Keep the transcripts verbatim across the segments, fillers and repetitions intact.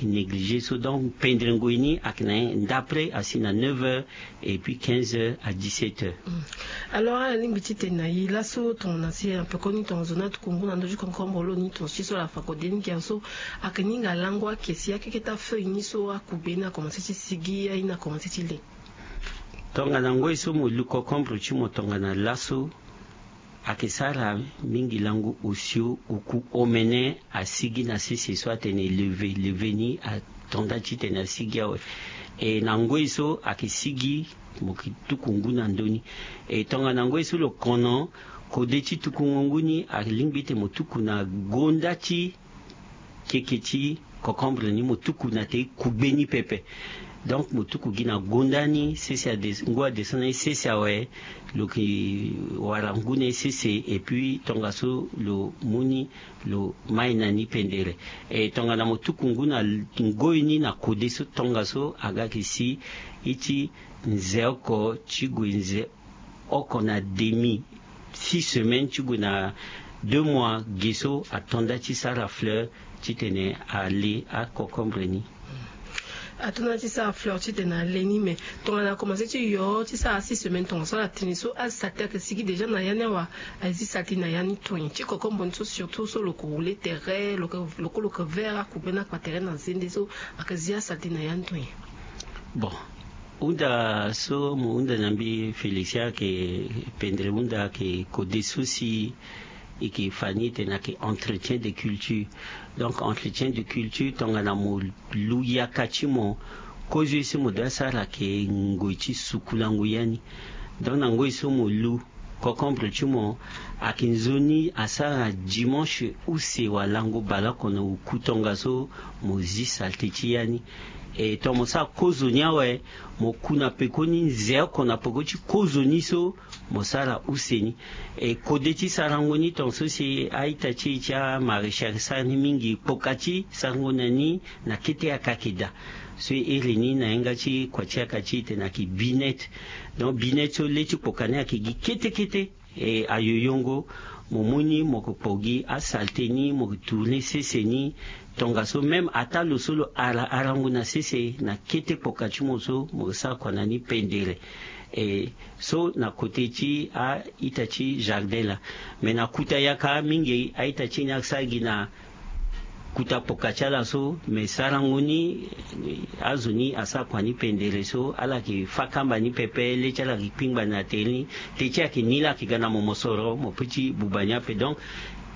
Négligé so donc pendre ngoi ni ayeke na ye ndapre asi na neuf heures et puis quinze heures à dix-sept heures. Alors alingbi ti tene na ye laso tongana si na pekoni tongana zo ni atuku ngu na ndö ti concombre lo ni tongana si so ala fa kode ni gi awe so ayeke ni hinga lango ake si akeketa feuille ni so akube ni akomanse ti sigi aye ni akomanse ti le. Tongana ngoi so mo lu concombre ti mo tongana laso ayeke sara mingi lango osio oku omene asigi na sese so atene leve leve ni atonda titene asigi awe. E na ngoi so ayeke sigi mo yeke tuku ngu na ndö ni. E tongana ngoi so lo kono kode ti tukungo ngu ni alingbi ete mo tuku na gonda ti keke ti concombre ni mo tuku na te kugbe ni pepe. Donc mo tuku gi na gonda ni sese ade ngu adescend na ye sese awe. Lo yeke wara ngu na ye sese et puis tongaso lo mu ni lo mai na ni pendere. E tongana mo tuku ngu na ngoi ni na kode so tongaso aga yeke si ye ti nze oko ti gue nze oko na demi six semaines ti gue na deux mois ge so atonda ti sara fleur titene ale aconcombre ni. Atonda ti sara fleur titene ale ni mais tongana akomanse ti yo ti sara six semaines tongaso ala tene so asalté ayeke sigi déjà na ya ni awa. Azi salté na ya ni tonye ti concombre ni so surtout so lo ko roule tere lo ko lo ko vert akube ni akpa tere na zende so ayeke zi asalté na ya ni tonye. Bon, hunda so mo hunda na mbi Félicien ayeke pendere hunda ayeke kode so si e yeke fa ni tene ayeke entretien de culture. Donc entretien de culture tongana mo lu yaka ti mo kozo ye so mo doit sara ayeke ngoi ti sukulango ya ni. Donc na ngoi so mo lu concombre ti mo ayeke nzoni asara dimanche use wala lango baleoko na oku tongaso mo zi salté ti ya ni. E tongana mo sara kozo ni awe mo ku na pekoni nze oko na peko ti kozo ni so mo sara use ni. E kode ti sarango ni tongaso si a-ita ti e ti amaréchal sara ni mingi kpoka ti sarango na ni na kete yaka ayeke daa. So e iri ni na yanga ti kua ti yaka ti e tene ayeke binette. Donc binette so le ti kpoka ni ayeke gi kete kete. E ayoyongo mo mu ni mo yeke kpo gi asalté ni mo yeke tourner sese ni. Tongaso même ataa lo so lo ara arango na sese na kete kpoka ti mo so mo yeke sara kua na ni pendere. E so na kote ti a-ita ti jardin laa. Mais na kuta yaka mingi a-ita ti e ni ayeke sara gi na kuta kpoka ti ala so mais sarango ni azo ni asara kua ni pendere so ala yeke fâ kamba ni pepe le ti ala yeke kpingba na tere ni. Te ti ayeke ni laa ayeke ga na mo mosoro mo pe ti buba ni ape donc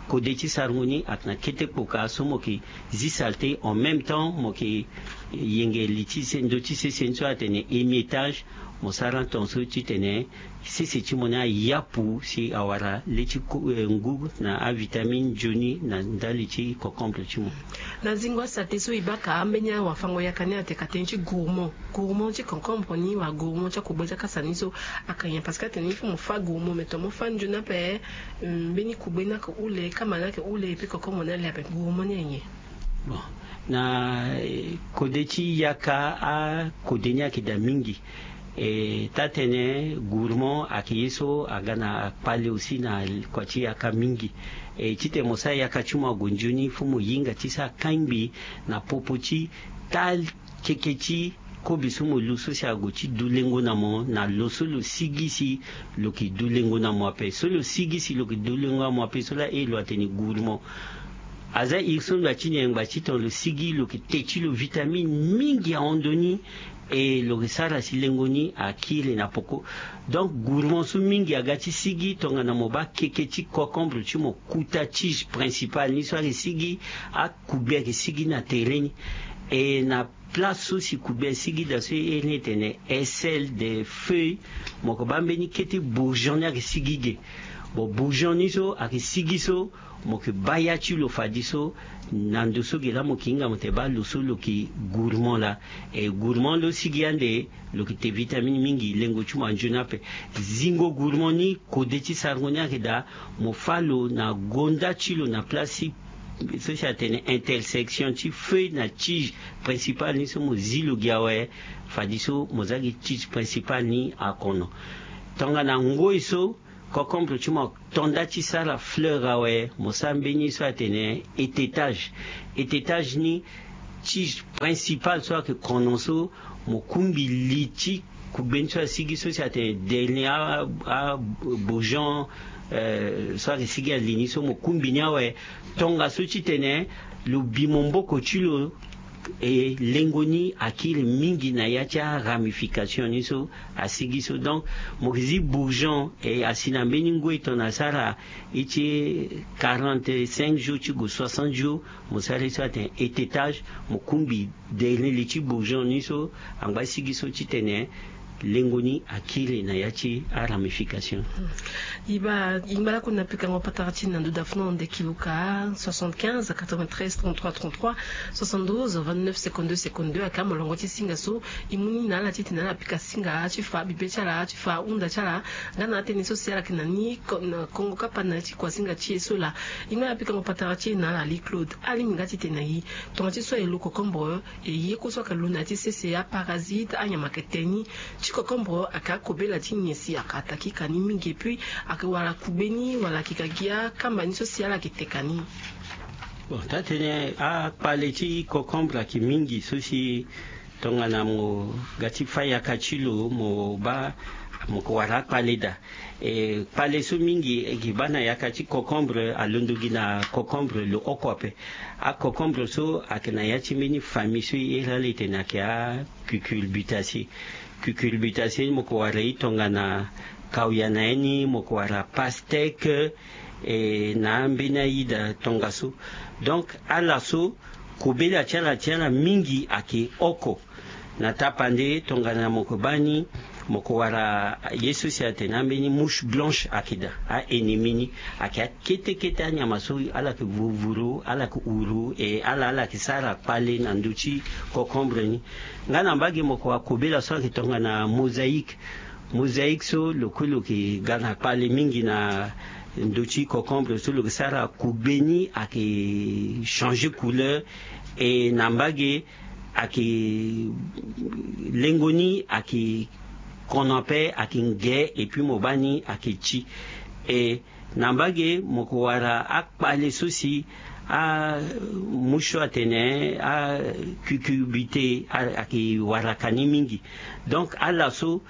kode ti sarango ni ayeke na kete kpoka so mo yeke zi salté en même temps mo yeke yenge li ti se ndö ti sese ni so atene émiettage. Mo sara tongaso titene sese ti mo ni ayapu si awara le ti ngu na avitamine nzoni na ndali ti concombre ti mo. Na zingo asalté so e baka ambeni awafango yaka ni atene ka tënë ti gourmand gourmand ti concombre ni wala gourmand ti akugbe ti akasa ni so ayeke nyen parce que atene il faut mo fâ gourmand mais tongana mo fâ nzoni ape mbeni kugbe ni ayeke hule kamba ni ayeke hule epui concombre ni ale ape gourmand ni aye nyen? Bon, na kode ti yaka akode ni ayeke daa mingi. E taa-tënë gourmand ayeke ye so aga na kpale aussi na kua ti yaka mingi. E titene mo sara yaka ti mo ague nzoni fo mo hinga ti sara kangbi na popo ti taa keke ti kobe so mo lu so si ague ti du lengo na mo na lo so lo sigi si lo yeke du lengo na mo ape so lo sigi si lo yeke du lengo na mo ape so laa e lo atene gourmand. Aza iri so ngba ti nyen ngba ti tongana lo sigi lo yeke te ti lo vitamine mingi ahon ndoni. E lo yeke sara si lengo ni akiri na poko. Donc gourmand so mingi aga ti sigi tongana mo baa keke ti concombre ti mo kuta tige principal ni so ayeke sigi akugbe ayeke sigi na tere ni. E na place so si kugbe asigi daa so e iri ni etene aisselle de feuille. Mo yeke baa mbeni kete bourgeon ni ayeke sigi ge. Bon bourgeon ni so ayeke sigi so mo yeke baa ya ti lo fadeso na ndo so ge laa mo yeke hinga mo tene baa lo so lo yeke gourmand laa. E gourmand lo sigi ande lo yeke te vitamine mingi lengo ti mo anzoni ape. Zingo gourmand ni kode ti sarango ni ayeke daa mo fâ lo na gonda ti lo na place ti so si atene intersection ti feuille na tige principal ni so mo zi lo gi awe. Fadeso mo za gi tige principal ni akono. Tongana ngoi so concombre ti mo atonda ti sara fleur awe mo sara mbeni so atene étetage. Étetage ni tige principal so ayeke kono so mo kungbi li ti kugbe ni so asigi so si atene derni abourgeon so ayeke sigi ali ni so mo kungbi ni awe. Tongaso titene lo bi momboko ti lo e lengo ni akiri mingi na ya ti aramification ni so asigi so. Donc mo yeke zi bourgeon e asi na mbeni ngoi tongana asara e ti quarante-cinq jours ti gue soixante jours. Mo sara ye so atene etetage mo kungbi derni li ti bourgeon ni so angba sigi so titene lengo ni akiri na ya ti aramification. Iba ingba lakue na pikango patara ti na ndo dafuna onde kiluka soixante-quinze quatre-vingt-treize trente-trois trente-trois soixante-douze vingt-neuf cinquante-deux cinquante-deux aka molongo ti singa so. Imuni na ala titene ala pika singa ti fa bibe ti ala ti fa hunda ti ala. Nga na atene so si ala yeke na ni kongo kapa na ti kuasinga ti e so laa. Ingba na pikango patara ti e na ala li claude alingbi nga titene na e tonga ti so aye lo kokombre e ye kue so ayeke lo na ya ti sese aparasite anyama ayeke te ni. Ti kokombre ayeke akobela ti nyen si ayeke ataki ka ni mingi epui ayeke wara kugbe ni wala ayeke ka gi akamba ni so si ala yeke te ka ni. Bon taa-tënë akpale ti kokombre ayeke mingi so si tongana mo ga ti fa yaka ti lo mo baa mo ko wara akpale daa. E kpale so mingi e gi baa na yaka ti kokombre alondo gi na kokombre lo oko ape. Akokombre so ayeke na ya ti mbeni famille so e iri ala etene ayeke akucurbitaceae. Cucurbitaceae ni mo ko wara e tongana kauya na ye ni mo ko wara pasteke e na ambeni aida tongaso. Donc ala so kobela ti ala ti ala mingi ayeke oko. Na tapande tongana mo ko baa ni mo ko wara ye so si atene ambeni mouche blanche ayeke daa a-ennemi ni. Ayeke akete kete anyama so ala yeke vuruvuru ala yeke uru e ala ala yeke sara kpale na ndö ti kokombre ni. Nga na mbage mo ko wara kobela so ayeke tongana mosaïque. Mosaïque so lo kue lo yeke ga na kpale mingi na ndö ti kokombre so lo yeke sara kugbe ni ayeke changer couleur. E na mbage ayeke lengo ni ayeke kono ape ayeke nge epui mo baa ni ayeke ti. E na mbage mo ko wara akpale so si amouche so atene akucurbitaceae ayeke wara ka ni mingi. Donc ala so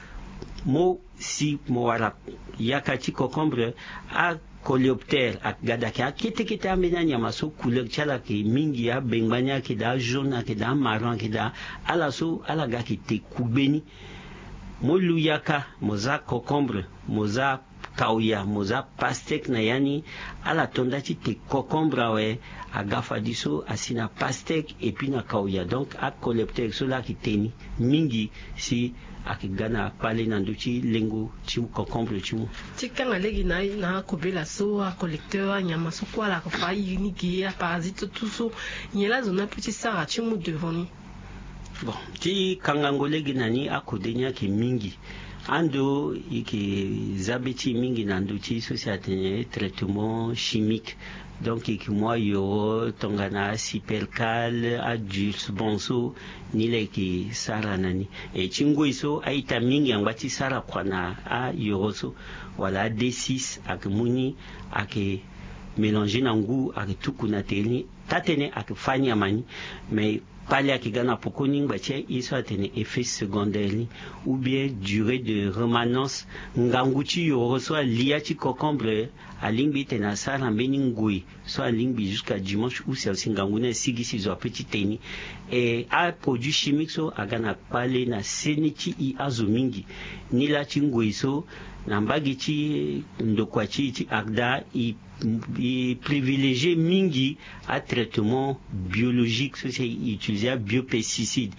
mo si mo wara yaka ti kokombre acoléoptère ayeke ga daa ayeke akete kete ambeni anyama so couleur ti ala ayeke mingi abengba ni ayeke daa ajaune ayeke daa amarron ayeke daa. Ala so ala ga ayeke te kugbe ni. Mo lu yaka mo za kokombre mo za kauya mo za pasteke na ya ni. Ala to nda ti te kokombre awe aga fadiso asi na pasteke epui na kauya donc acoléoptère so laa ayeke te ni mingi si ayeke ga na kpale na ndö ti lengo ti kokombre ti mu. Ti kanga lege na na akobela so acolecteur anyama so kue ala yeke fa airi ni ge aparasite so tout so nyen laa azo ni ape ti sara ti mu devant ni? Bon ti kangango lege na ni akode ni ayeke mingi. Ando e yeke za be ti e mingi na ndö ti so si atene traitement chimique. Donc e yeke mu ayoro tongana asipercale adulsbon so ni laa e yeke sara na ni. E ti ngoi so a-ita mingi angba ti sara kua na ayoro so wala ade six ayeke mu ni ayeke mélanger na ngu ayeke tuku na tere ni. Taa-tënë ayeke fâ nyama ni. Mais kpale ayeke ga na pokoni ngba ti aye so atene effet secondaire ni ou bien durée de remanence. Ngangu ti yoro so alia ti cocombre alingbi tene asara mbeni ngoi so alingbi jusqu'à dimanche ou si asi ngangu ni asigi si zo ape ti te ni. E aproduit chimique so aga na kpale na sene ti e azo mingi. Nilaa ti ngoi so na mbage ti ndokua ti e ti arda e e privilégier mingi atraitement biologique so si e utiliser abiopesticide.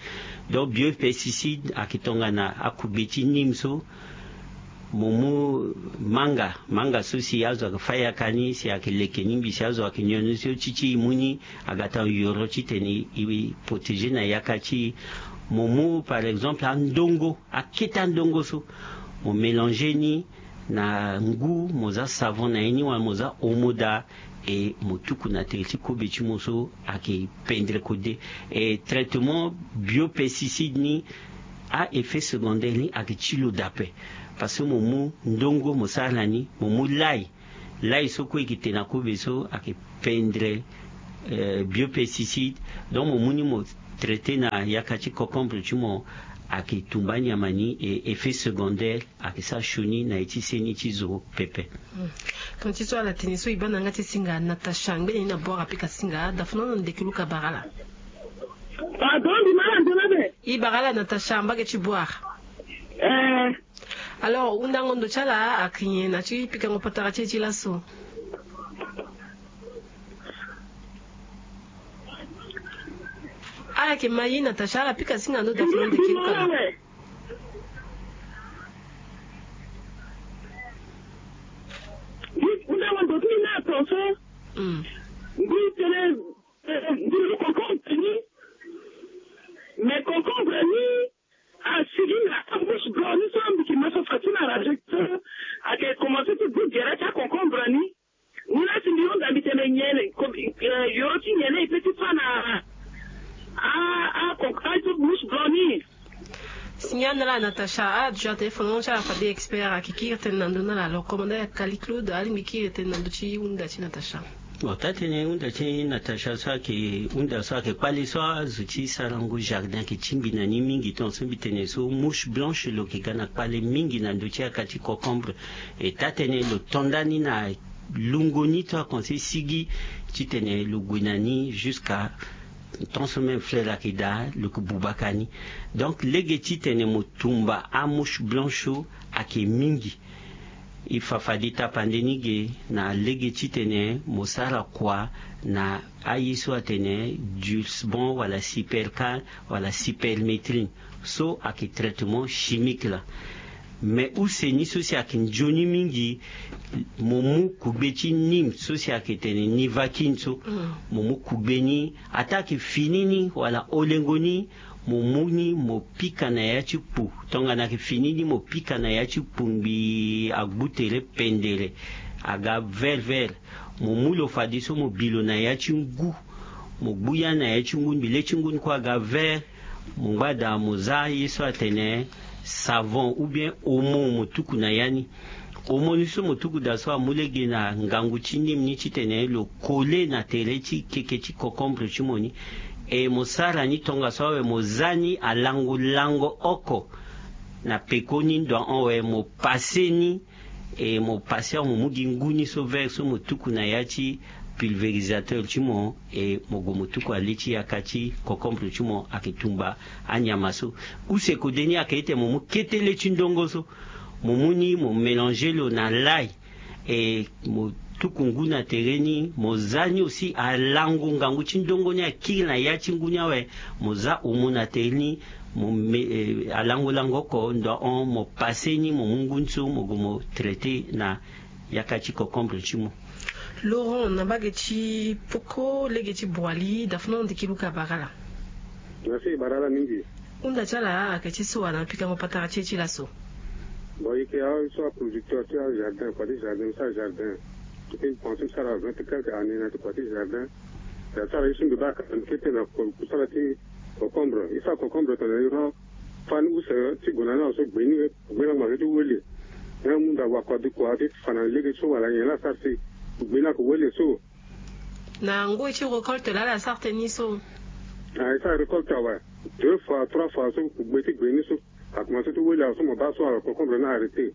Donc biopesticide ayeke tongana akugbe ti nîmes so. Mo mu manga manga so si azo ayeke fâ yaka ni si ayeke leke ni mbi si azo ayeke nyon ni so ti ti e mu ni aga tanga yoro titene e protéger na yaka ti e. Mo mu par exemple andongo akete andongo so mo mélanger ni na ngu mo za savon na ye ni wala mo za omo daa. E mo tuku na tere ti kobe ti mo so ayeke pendre kode. E traitement biopesticide ni a-effet secondaire ni ayeke ti lo daa ape. Parce que mo mu ndongo mo sara na ni mo mu lai lai so kue e yeke te na kobe so ayeke pendre biopesticide. Donc mo mu ni mo traité na yaka ti concombre ti mo ayeke tumba anyama ni, e effet secondaire ayeke sara sioni na ye ti seni ti zo pepe. Ton ti so ala tene so e baa na yanga ti singa Natacha ngbene ni na Bouar apika singa dafuna na ndeke luka bara ala. Pardon, mbi ma ala nzoni ape. E bara ala Natacha mbage ti Bouar. Eh. Alors hundango ndo ti ala ayeke nyen na ti pikango patara ti e ti laso? Ala yeke ma ye Natacha, ala pika singa ndo dafuna ndeke luka bara. Mbi hundango ndo ti mbi na ton so. Mm. Mbi tene, eh, mbi lo concombre ni. Mais concombre ni asigi na bouche blanc ni so mbi yeke ma so fa ti na radio so ayeke commencé ti gu gere ti aconcombre ni. Ni la si mbi hunda mbi tene nyen, eh, yoro ti nyen e peut ti fa na a, a, a, a, bouche blanc ni. Signal na ala Natacha, ala duti na téléphone ti ala fade expert ayeke kiri tënë na ndö ni ala. Alors commandant Yakali Claude alingbi kiri tënë na ndö ti hunda ti Natacha. Bon, taa-tënë hunda ti Natacha so ayeke hunda so ayeke kpale so azo ti sarango jardin ayeke tingbi na ni mingi, tongaso mbi tene so mouche blanche lo yeke ga na kpale mingi na ndö ti yaka ti concombre. E taa-tënë lo to nda ni na lungo ni so akonse sigi titene lo gue na ni jusqu'à ton so même fleur ayeke daa lo yeke bubaka ni. Donc lege titene mo tumba amouche blanche so ayeke mingi. E fa fade tapande ni ge na lege titene mo sara kua na aye so atene dulcebon wala supercal wala superméthrine. So ayeke traitement chimique laa. Mais use ni so si ayeke nzoni mingi, mo mu kugbe ti nîmes so si ayeke tene nivaquine so. Mm. Mo mu kugbe ni ataa ayeke fini ni wala olengo ni, mo mu ni mo pika na ya ti kpu. Tongana ayeke fini ni mo pika na ya ti kpu ngbii, agbu tere pendere, aga vert vert. Mo mu lo fadeso mo bi lo na ya ti ngu. Mo gbu ya ni na ya ti ngu ni, mbi le ti ngu ni kue aga vert. Mo ngba daa mo za ye so atene savon ou bien omo, mo tuku na ya ni. Omo ni so mo tuku daa so amu lege na ngangu ti nîmes ni titene lo coller na tere ti keke ti concombre ti mo ni. E mo sara ni tongaso awe mo za ni alango lango oko na peko ni ndo ahon awe mo passer ni. E mo passer mo mu gi ngu ni so vert so mo tuku na ya ti pulvérisateur ti mo, e mo gue mo tuku ale ti yaka ti concombre ti mo ayeke tumba anyama so. Use kode ni ayeke ete mo mu kete le ti ndongo so, mo mu ni mo mélanger lo na lay. E mo tuku ngu na tere ni, mo za ni aussi alango ngangu ti ndongo ni akiri na ya ti ngu ni awe. Mo za omo na tere ni, mo me, eh, alango lango oko ndo ahon mo passer ni, mo mu ngu ni so mo gue mo traiter na yaka ti concombre ti mo. Laurent, na mbage ti poko lege ti Boali, dafuna ndiki luka bara ala. Merci, bara ala mingi. Hunda ti ala ayeke ti so wa na pikango patara ti e ti laso. Bon, e yeke awe so aproducteur ti ajardin, kua ti jardin, mbi sara jardin. Mbi ti pense mbi sara vingt quelque année na ti kua ti jardin. Mbi asara ye so mbi baa kata mbi kete na ko-, kusala ti concombre. E sara concombre tongana e rend fa ni use ti gue na ni awe so gbe ni, gbe ni ague na ge ti wele. Ni amu nda wakua de kua ti fa na lege so wala nyen la asara si gbe ni ayeke wele so. Na ngoi ti récolte laa ala sara tënë ni so? Ah, e sara récolte awe. Deux fois, trois fois so kugbe ti gbe ni so. A commencé ti wele awe so mo baa so, alors concombre ni arrêté.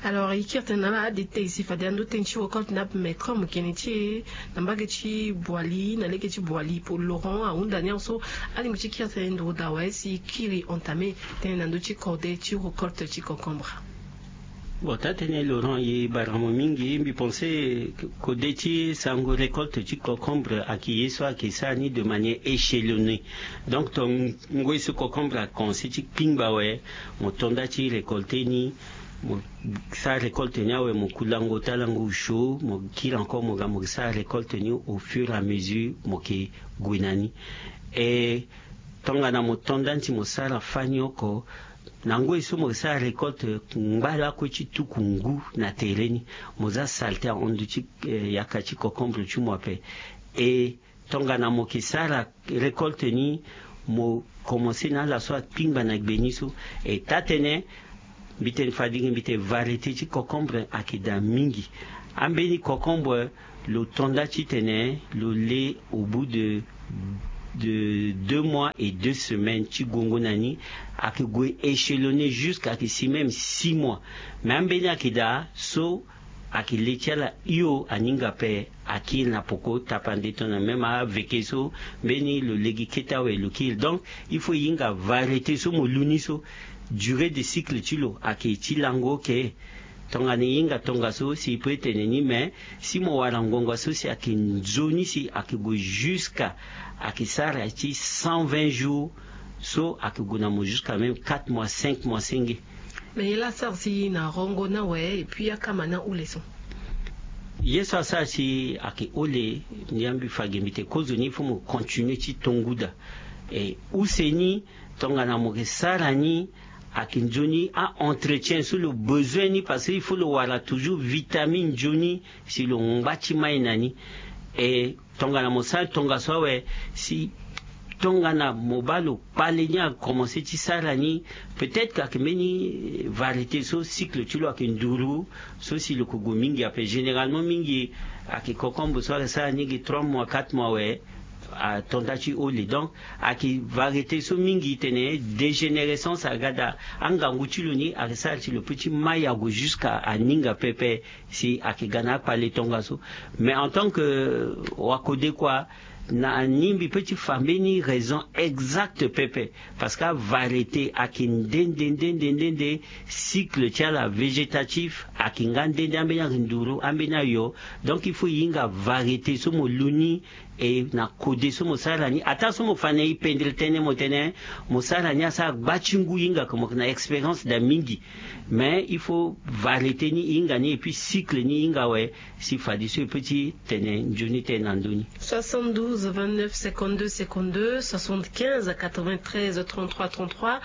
Alors e kiri tënë na ala adétail si fade ando tënë ti récolte ni ape, mais comme kene ti e na mbage ti Boali, na lege ti Boali, pour Laurent ahunda ni awe so, alingbi ti kiri tënë nduru daa awe si e kiri entamé tënë na ndö ti cordée ti récolte ti concombre. Bon, taa-tënë Laurent, e bara mo mingi. Mbi pense cordée ti sango récolte ti concombre ayeke ye so ayeke sara ni de manière échelonnée. Donc ton ngoi so concombre akomanse ti kpingba awe, mo to nda ti récolter ni, mo sara récolte ni awe, mo ku lango ota lango osio, mo kiri encore mo ga mo sara récolte ni au fur et à mesure mo yeke gue na ni. E tongana mo to nda ni si mo sara fani oko, na ngoi so mo sara récolte, ngba lakue ti tuku ngu na tere ni, mo za saleté ahon ndö ti, eh, yaka ti concombre ti mo ape. E tongana mo yeke sara récolte ni, mo komanse na ala so akpingba na gbe ni so. E taa-tënë, mbi tene fade gi mbi tene variété ti concombre ayeke daa mingi. Ambeni concombre lo to nda titene lo le au bout de de deux mois et deux semaines ti gongo na ni. Ayeke gue échelonné jusqu'à ayeke si même six mois. Mais ambeni ayeke daa so ayeke le ti ala hio aninga ape. Akiri na poko tapande tongana même aveke so mbeni lo lege kete awe lo kiri. Donc il faut e hinga variété so mo lu ni so. Durée de cycle ti lo ayeke ti lango oke. Tongana e hinga tongaso si e peut tene ni mais si mo wara ngonga so si ayeke nzoni si ayeke gue jusqu'à ayeke sara ti cent vingt jours. So ayeke gue na mo jusqu'à même quatre mois cinq mois senge. Mais ye laa asara si na rongo ni awe et puis akama ni ahule so. Ye so asara si ayeke hole. Ni ambi fa ge mbi tene kozoni il faut mo continuer ti tonguda. E use ni tongana mo yeke sara ni ayeke nzoni a-entretien so lo besoin ni parce que il faut lo wara toujours vitamine nzoni si lo ngba ti mai na ni. E tongana mo sara tongaso awe si tongana mo baa lo kpale ni akomense ti sara ni. Peut-être ayeke mbeni variété so cycle ti lo ayeke nduru so si lo yeke gue mingi ape généralement mingi ayeke concombre so ayeke sara ni gi trois mois quatre mois awe. Atonda ti hole donc ayeke variété so mingi tene dégénérescence aga daa. Angangu ti lo ni ayeke sara si lo peut ti mai ague jusqu'à aninga pepe. Si ayeke ga na akpale tongaso. Mais en tant que wakode kua na ni mbi peut ti fa mbeni raison exacte pepe. Parce que avariété ayeke nde nde nde nde nde nde cycle ti ala végétatif ayeke nga nde nde ambeni ayeke nduru ambeni ayo. Donc il faut e hinga variété so mo lu ni e na kode so mo sara ni ataa so mo fa na e pendere tënë mo tene mo sara ni asara gba ti ngu e hinga ke mo yeke na expérience daa mingi. Mais il faut variété ni e hinga ni et puis cycle ni e hinga awe. Si fadeso e peut ti tene nzoni tënë na ndö ni. Soixante-douze vingt-neuf cinquante-deux cinquante-deux soixante-quinze quatre-vingt-treize trente-trois trente-trois.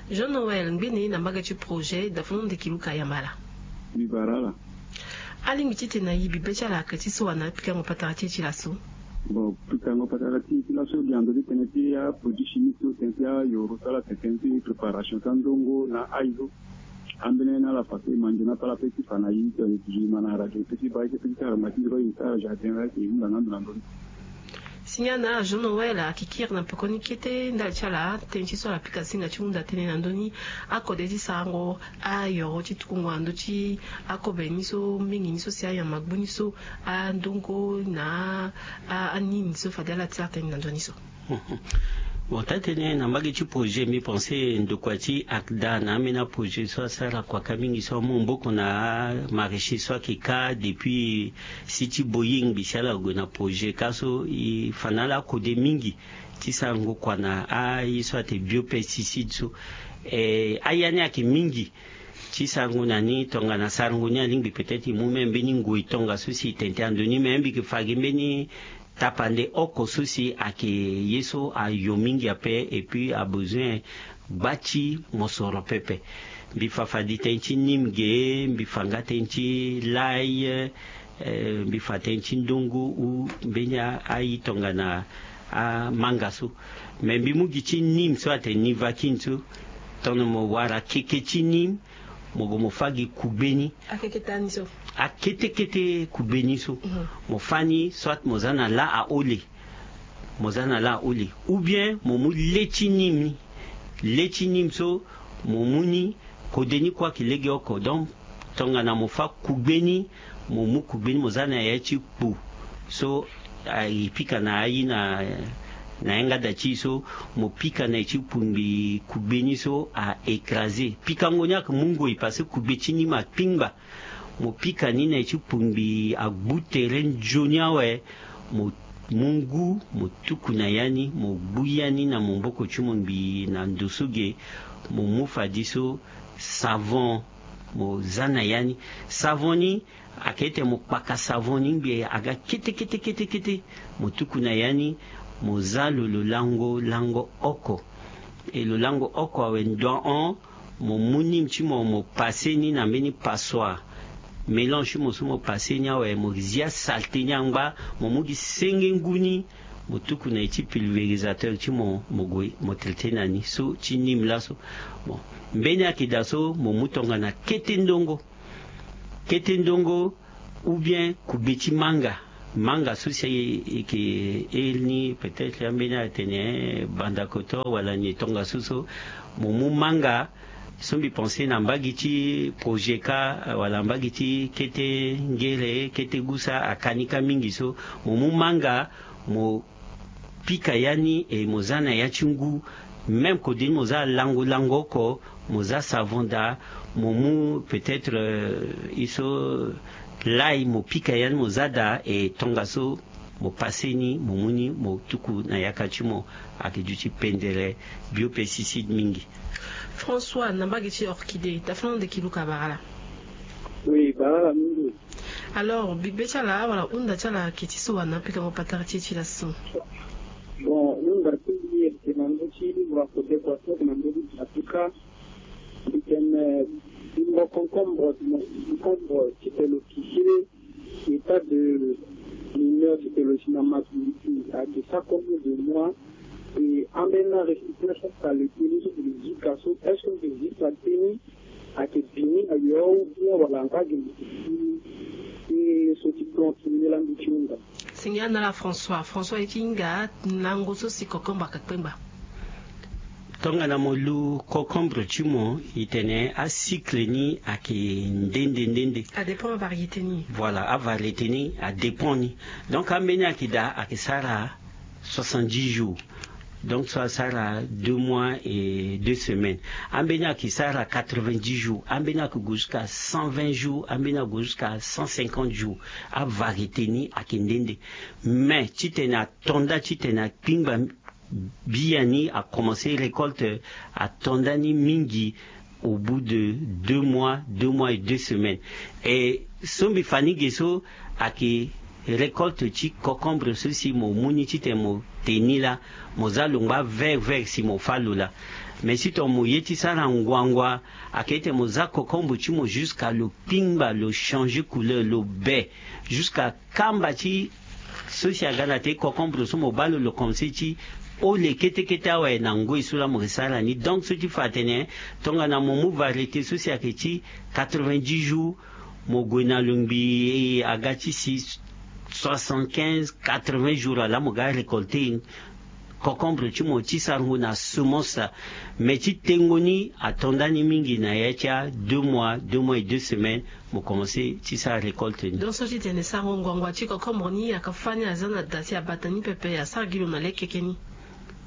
Jean Noël ngbene na mbage ti projet dafon ndeki luka yamba laa. Mbi bara ala. Alingbi ti tene na e bibe ti ala ayeke ti so wa na apikango patara ti e ti laso. Bon, pikango patara ti e ti laso gi na ndö ti tënë ti aproduit chimique so tënë ti ayoro so ala tene tënë ti préparation ti andongo na aye so. Ambeni na ala fa so e ma nzoni ape ala pe ti fa na e. Gi ma na radio e pe ti baa e ti pe ti sara ma ti ndiro e sara jardin la e hunda na ando na ndoni. Signal na Jean Noël ayeke kiri na pekoni kete ndali ti ala tënë ti so ala pika singa ti hunda tënë na ndö ni. Akode ti sarango ayoro ti tukungo na ndö ti akobe ni so mingi ni so si ayamba gbu ni so andongo na anini so fade ala ti sara tënë na ndö ni so. Bon taa-tënë na mbage ti projet mbi pense ndokua ti akda na ambeni aprojet so asara kuaka mingi so amu maboko na amaraîcher so ayeke ka depuis si ti boying mbi si ala gue na projet ka so e fa na ala akode mingi ti sarango kua na aye so atene biopesticide so. Aya ni ayeke mingi ti sarango na ni tongana sarango ni alingbi peut-être e mu même mbeni ngoi tongaso si e tene tënë na ndö ni me mbi yeke fa gi mbeni tapande oko so si ayeke ye so ayo mingi ape et puis abezoin gba ti mosoro pepe. Mbi fa fade tënë ti nime ge mbi fa nga tënë ti lai. Mbi fa tënë ti ndongo ou mbeni aye tongana amanga so. Me mbi mu gi ti nime so atene nivakine so tongana mo wara keke ti nime mo gue mo fâ gi kugbe ni. Akeke tani so. Akete kete kugbe ni so. Mo fâ ni soit mo za na lâ ahole. Mo za na lâ ahole ou bien mo mu le ti nime ni. Le ti nime so mo mu ni. Kode ni kue ayeke lege oko donc tongana mo fâ kugbe ni mo mu kugbe ni mo za na ya ti kpu so e pika na aye na yanga da ti e so mo pika na e ti kpungbi kugbe ni so a écraser pikango ni ayeke mu ngoi parce que kugbe ti nime akpingba. Mo pika ni na e ti kpungbi agbu tere nzoni awe. Mo mu ngu mo tuku na ya ni mo gbu ya ni na maboko ti mo ngbii na ndo so ge. Mo mu fadeso savon mo za na ya ni. Savon ni ayeke ete mo kpaka savon ni ngbii aga kete kete kete kete. Mo tuku na ya ni mo za lo lo lango lango oko. E lo lango oko awe ndo ahon. Mo mu nime ti mo mo pase ni na mbeni passoire. Mélange ti mo so mo pase ni awe mo zia saleté ni angba. Mo mu gi senge ngu ni mo tuku na e ti pulvérisateur ti mo mo gue mo traité na ni so ti nime laso. Bon mbeni ayeke daa so mo mu tongana kete ndongo. Kete ndongo ou bien kugbe ti manga. Manga so si e yeke iri ni peut-être ambeni atene banda koto wala ni tongaso so mo mu manga so mbi pense na mbagi ti projet ka wala mbagi ti kete ngere kete gusa aka ni ka mingi so mo mu manga mo pika ya ni e mo za na ya ti ngu. Même kode ni mo za lango lango oko mo za savon daa mo mu peut-être e so lai mo pika ya ni mo za daa e tongaso mo pase ni mo mu ni mo tuku na yaka ti mo. Ayeke duti pendere biopesticide mingi. François na mbage ti orchidée tafana nde ki luka barala. Oui barala mingi. Alors bibe ti ala wala hunda ti ala ayeke ti so wa na pikango patara ti e ti laso? Bon hunda ti mbi ayeke na ndö ti livre akote kua so ayeke na ndö ti apuka. Mbi tene bimbo concombre titene lo kisi. État de mineur titene lo si na maturité ayeke sa combien de mois? E ambeni na récipience aka le teni so mbi zika so est ce que mbi zika teni ayeke bini ayo ou bien wala nga gi mbi ti so ti plante ni laa mbi ti hunda. Singia na ala françois françois e ti hinga lango so si concombre ayeke kpengba. Tongana mo lu concombre ti mo e tene acycle ni ayeke nde nde nde nde. Adépend avariété ni. Voilà avariété ni adépend ni. Donc ambeni ayeke daa ayeke sara soixante-dix jours. Donc so asara deux mois et deux semaines. Ambeni ayeke sara quatre-vingt-dix jours ambeni ayeke gue jusqu'à cent vingt jours ambeni ayeke gue jusqu'à cent cinquante jours. Avariété ni ayeke nde nde. Mais titene ato nda titene akpingba biani akomense récolte ato nda ni mingi au bout de deux mois deux mois et deux semaines. E so mbi fa ni ge so ayeke récolte ti concombre so si mo mu ni titene mo te ni laa mo za lo ngba vert vert si mo fâ lo laa. Mais si tongana mo ye ti sara nguangua ayeke titene mo za concombre ti mo jusqu'à lo kpingba lo changer couleur lo be jusqu'à kamba ti so si aga na te concombre so mo baa lo lo commence ti ole kete kete awe na ngoi so laa mo ke sara ni. Donc so ti fa atene tongana mo mu variété so si ayeke ti quatre-vingt-dix jours mo gue na lo ngbii aga ti si soixante-quinze quatre-vingts jours ala mo ga récolter concombre ti mo ti sarango na semence. Mais ti tengo ni ato nda ni mingi na ya ti a deux mois deux mois et deux semaines. Mo commence ti sara récolte ni. Donc so ti tene sarango nguangua ti concombre ni aka fâ ni aza na da si abata ni pepe asara gi lo na lekeke ni.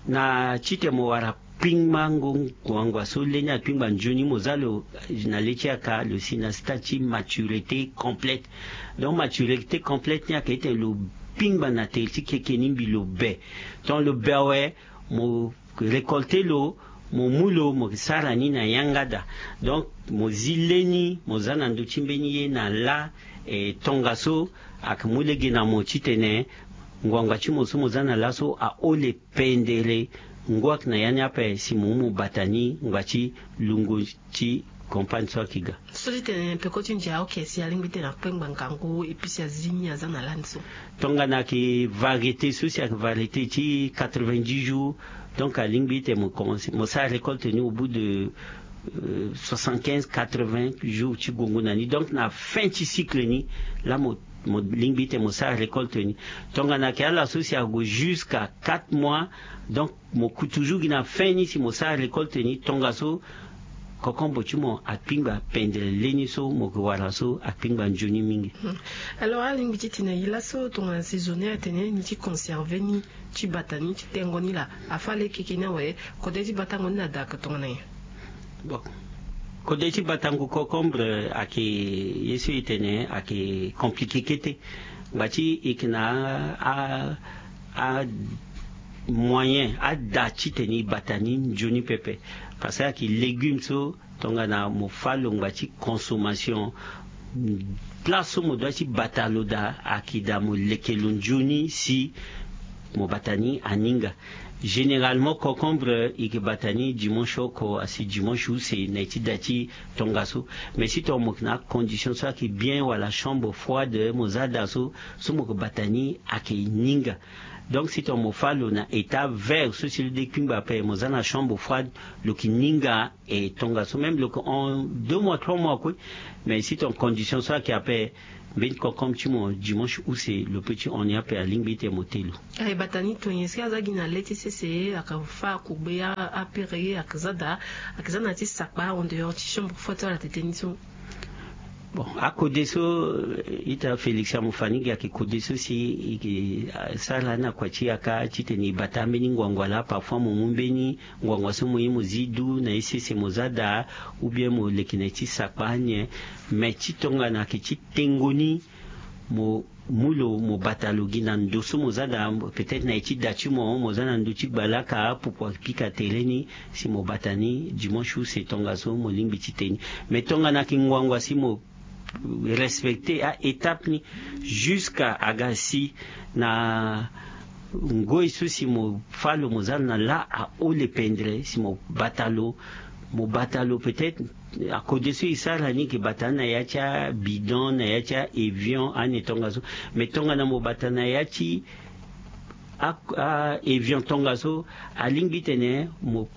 Na titene mo wara kpingbango nguangua so leni akpingba nzoni mo za lo na le ti aka lo si na stade ti maturité complète. Donc maturité complète ni ayeke titene lo kpingba na tere ti keke ni mbi lo be. Donc lo be awe mo récolter lo mo mu lo mo sara ni na yanga daa. Donc mo zi leni mo za na ndö ti mbeni ye na laa. E tongaso ayeke mu lege na mo titene nguangua ti mo so mo za na laso ahole pendere. Ngu ayeke na ya ni ape si mo mu mo bata ni ngba ti lungo ti compagne so ayeke ga. So ti tene peko ti ndia oke si alingbi tene akpengba ngangu et puis si azi ni aza na lani so. Tongana ayeke variété so si ayeke variété ti quatre-vingt-dix jours. Donc alingbi tene mo commence mo sara récolte ni au bout de soixante-quinze quatre-vingts jours ti gongo na ni donc na fin ti cycle ni laa mo mo lingbi tene mo sara récolte ni. Tongana ayeke ala so si ague jusqu'à quatre mois. Donc mo ku toujours gi na fin ni si mo sara récolte ni tongaso concombre ti mo akpingba pendere leni so mo ke wara so akpingba nzoni mingi. Alors alingbi ti tene e laso tongana saisonnier atene ni ti conserver ni ti bata ni ti tengo ni laa afâ lekeke ni awe. Kode ti batango ni na daa ake tongana nyen? Bon kode ti batango concombre ayeke ye so e tene ayeke compliqué kete. Ngba ti e yeke na a a moyen ada titene e bata ni nzoni pepe. Parce que ayeke légume so tongana mo fâ lo ngba ti consommation place so mo doit ti bata lo daa ayeke daa mo leke lo nzoni si mo bata ni aninga. Généralement concombre e yeke bata ni dimanche oko asi dimanche use na e ti da ti tongaso. Mais si tongana mo yeke na acondition so ayeke bien wala chambre froide mo za daa so so mo yeke bata ni ayeke ninga. Donc si tongana mo fâ lo na état vert so si lo de kpingba ape mo za na chambre froide lo yeke ninga. E tongaso même lo yeke hon deux mois trois mois kue. Mais si tongana condition so ayeke ape mbeni concombre ti mo dimanche use lo pe ti hon ni ape alingbi ete mo te lo. Aye bata ni tonye si aza gi na le ti sese aka fa akugbe apere aka za daa. Aka za na ya ti sakpa en dehors ti chambre froide so ala tete ni so. Bon, akode so ita félix amofanigi ake kode so si ike sara na kua ti yaka titene ibata mbeni ngwangwa laa parfois mo mu mbeni ngwangwa so mo ye mo zi du na ye sese mo za daa. Ou bien mo leke na ye ti sakpa anye. Mais ti tongana ake ti tengo ni mo mu lo mo bata lo gi na ndo so mo za daa. Peut-être na ye ti da ti mo mo za na ndo ti gbalaka apupu apika tere ni si mo bata ni dimanche use tongaso mo lingbi ti te ni. Mais tongana ake ngwangwa si mo respecter a étape ni jusqu'à aga si na ngoi so si mo fa lo mo za lo na laa ahole pendere si mo bata lo. Mo bata lo peut-être akode so e sara ni ke bata ni na ya ti abidon na ya ti avion ane tongaso. Mais tongana mo bata na ya ti a, a avion tongaso alingbi tene mo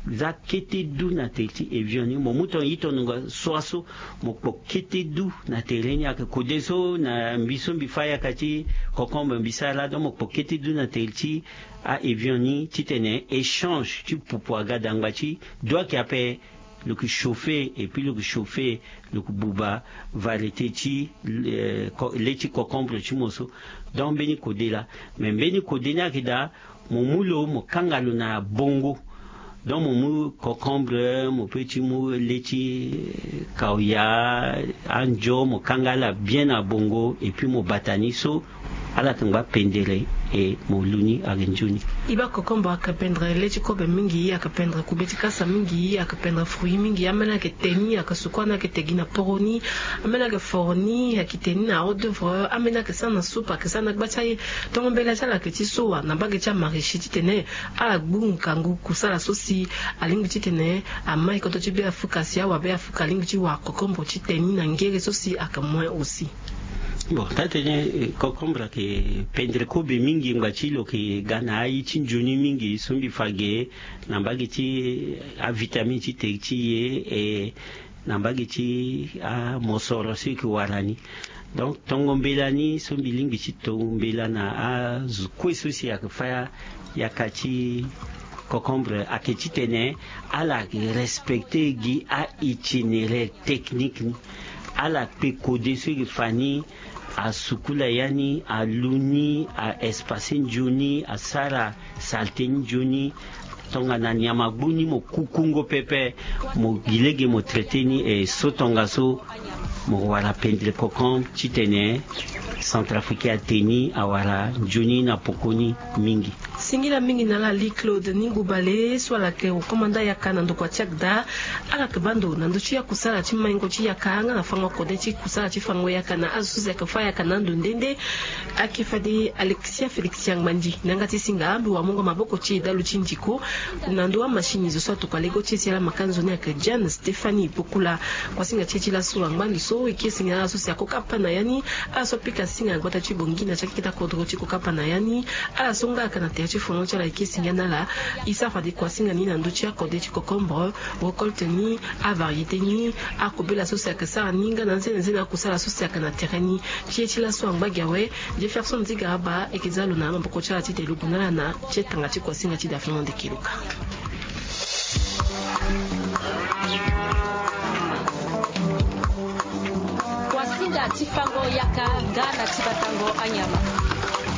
za kete du na tere ti avion ni mo mu tonga itondonga soi so mo kpo kete du na tere ni ake kode so na mbi so mbi fa yaka ti concombre mbi sara donc mo kpo kete du na tere ti a avion ni titene échange ti pupu aga dangba ti do ake ape. Lo ke chauffer et puis lo ke chauffer lo ke buba variété ti le ti concombre ti mo so. Donc mbeni kode laa mais mbeni kode ni ake daa mo mu lo mo kanga lo na bongo. Donc mo mu concombre mo pe ti mu le ti kaoya anjo mo kanga ala bien na bongo et puis mo bata ni so ala tongba pendere. E mo lu ni ake nzoni. E baa concombre ake pendere le ti kobe mingi ake pendere kube ti kasa mingi ake pendere fruit mingi ambeni ake te ni ake suku ani ake te gi na poro ni. Ambeni ake foro ni ake te ni na hors d'oeuvre ambeni ake sara na soupe ake sara na gba ti aye. Tongo mbela ti ala ake ti so wa na mbage ti amarichi titene ala gbu ngangu kusala so si alingbi titene amai koto ti be afuka si awa be afuka alingbi ti wa concombre ti te ni na ngere so si aka moins aussi. Bon taa tene concombre ake pendere kobe mingi ngba ti lo ke ga na aye ti nzoni mingi so mbi fa ge na mbage ti avitamine ti te ti ye e na mbage ti amosoro so eke wara ni. Donc tongo mbela ni so mbi lingbi ti tongo mbela na azo kue so si ake fa yaka ti concombre ake titene ala respecter gi a itinéraire technique ni. Ala kpe kode so eke fa ni asukula ya ni alu ni a espace nzoni asara salte ni nzoni. Tongana nyama gbu ni mo kukungo pepe mo gi lege mo traiter ni e so tongaso mo wara pendere concombre titene centrafricain ate ni awara nzoni na poko ni mingi. Singila mingi na ala ali claude ni ngubale so ala yeke okomanda yaka na ndokua ti agda. Ala yeke baa ndo na ndö ti akusala ti maingo ti yaka nga na fango kode ti kusala ti fango yaka na azo so si ayeke fâ ayaka na ando nde nde. Ayeke fade alexia félix ti angbandi na yanga ti singa mbi wamungo maboko ti e dalu ti ndiko. Na ndö amachine zo so atokua lego ti e si ala maka nzoni ayeke diane stéphanie pokula. Kuasinga ti e ti laso angbandi so e kiri singila ala so si akokapa pa na ya ni. Ala so apika singa na gbata ti bongi na ti akeketa kodro ti kokapa na ya ni. Ala so nga ayaka na tere ti fongo ti ala e kiri singila na ala. E sara fade kuasinga ni na ndö ti akode ti kokombre récolte ni avariété ni. Akobela so si ayeke sara ni nga na nzene nzene akusala so si ayeke na tere ni. Ti e ti laso angba gi awe. Jefferson nziga aba e yeke za lo na amaboko ti ala titene lo gue na ala na ti etanga ti kuasinga ti dafingo nde kiluka. Kuasinga ti fango yaka nga na ti batango anyama.